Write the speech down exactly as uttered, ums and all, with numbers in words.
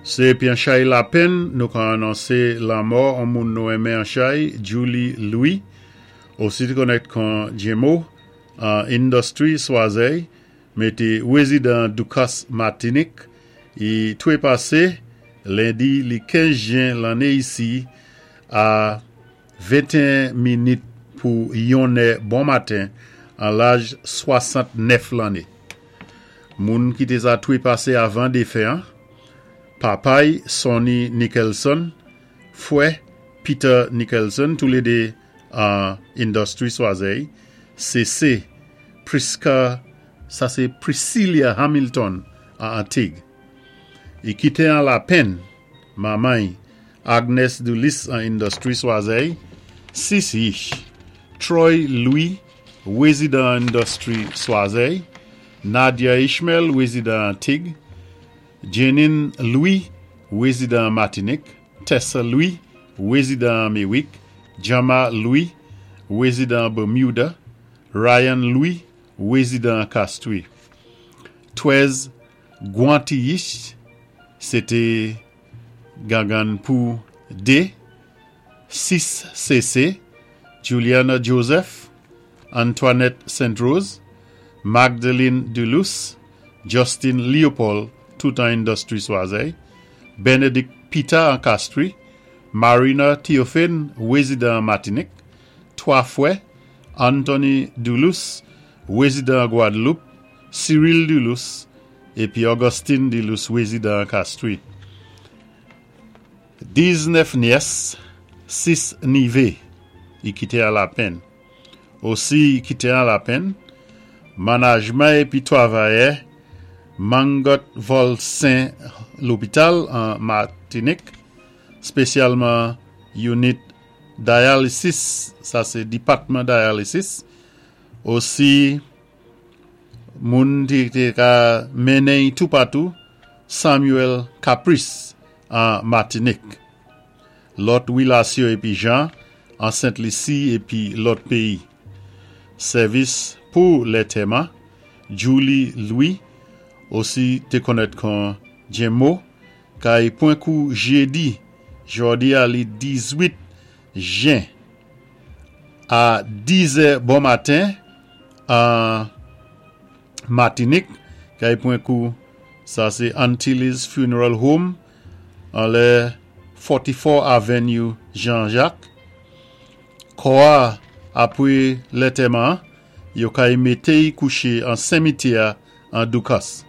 Sé épi an chay lapenn, nou ka anonsé lanmò an moun nou enmen an chay, Julie Louis, osi té konnèt kon Jemo, an Industry Swazey, mé té wézidan Ducos Matinik, i twépasé lendi li kenz jen lanné isi a venteyen minit pou yonnè bon maten an laj swasant-nèf lanné. Moun ki té sa twépasé avan défen an, papa'y Sonny Nicholson, fwè Peter Nicholson, toulédé an Industry Swazey, C C Priska, sa sé Priscilla Hamilton an Antig. I kité an lapenn, manman'y Agnes Dulis an Industry Swazey, sis yich, Troy Louis, wézidan Industry Swazey, Nadia Ishmael, wézidan Antig, Janine Louis, wézidan Matinik, Tessa Louis, wézidan Mewick, Jama Louis, wézidan Bermuda, Ryan Louis, wézidan Castries. Twèz gwanti yich, sé té gangann pou dé, sis C C, Juliana Joseph, Antoinette Saint Rose, Magdalene Duluth, Justin Leopold, tout an Industry Swazey, Benedict Peter an Castries, Marina Théophane, wézidan Matinik, twa fwè, Anthony Duluth, wézidan Guadeloupe, Cyril Duluth, épi Augustine Duluth, wézidan Castries. Diznèf nyès, sis nivé, i kité an lapenn. Osi i kité an lapenn, manajman épi twavayè Mangot Volsin lopital an Matinik, spésyalman unit dialysis, sa sé dipatman dialysis, osi moun ti té ka mennen toupatou, Samuel Caprice an Matinik. Lòt wilasyon épi jan an Sent Lisi épi lòt péyi. Sèvis pou lantèman, Julie Louis, osi té konnèt kon Jemo, kay pwan kou jédi, jòdi a li dizwit jen, a dizè bon maten, an Matinik, kay pwan kou, sa sé Antilles Funeral Home, an lè forty-four Avenue Jean-Jacques. Kò a, apwé lantèman, yo kay mété'y kouché an simityè an Ducos.